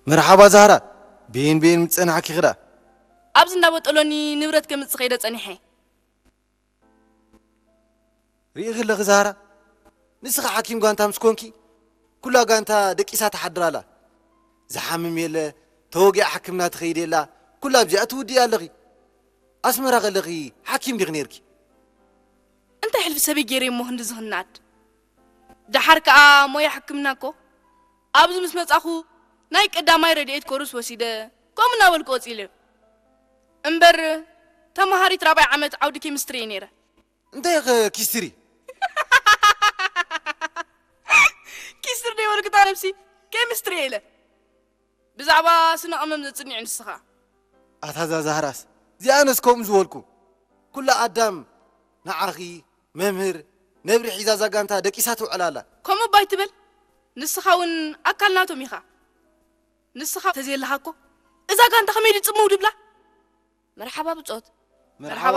መርሓባ ዛህራ፣ ብይን ብይን ምጸናሕኪ ክዳ? ኣብዚ እንዳበጠሎኒ ንብረት ከምጽእ ከይደ ጸኒሐ። ርኢኺ ኣለኺ ዛህራ፣ ንስኻ ሓኪም ጋንታ ምስ ኮንኪ፣ ኩላ ጋንታ ደቂሳ ትሓድር ኣላ። ዝሓምም የለ፣ ተወጊኣ ሕክምና ትኸይድ የላ፣ ኩላ ኣብዚኣ ትውድእ ኣለኺ። ኣስመራ ከለኺ ሓኪም ዲኺ ነይርኪ? እንታይ ሕልፊ ሰበይ ገይረ እሞ ክንዲ ዝኽናድ? ደሓር ከኣ ሞያ ሕክምና እኮ ኣብዚ ምስ መጻኹ ናይ ቀዳማይ ረድኤት ኮርስ ወሲደ፣ ከምኡ እናበልኩ ቀጺለ። እምበር ተመሃሪት ራብዓይ ዓመት ዓውዲ ኬሚስትሪ እየ ነይረ። እንታይ ኢኸ ኪስትሪ? ኪስትሪ ደይበልኩ እታ ነብሲ፣ ኬሚስትሪ እየ ኢለ። ብዛዕባ ስነ ቀመም ዘጽንዕ ንስኻ። ኣታ እዛ ዛህራስ፣ እዚኣነስ ከምኡ ዝበልኩ። ኩላ ኣዳም ንዓኺ፣ መምህር፣ ነብሪ ሒዛ እዛ ጋንታ ደቂሳ ትውዕል ኣላ። ከምኡ እባ ኣይትበል። ንስኻ እውን ኣካል ናቶም ኢኻ። ንስኻ ተዘየለኻ እኮ እዛ ጋንታ ከመይ ድጽምው ድብላ? መርሓባ ብጾት። መርሓባ።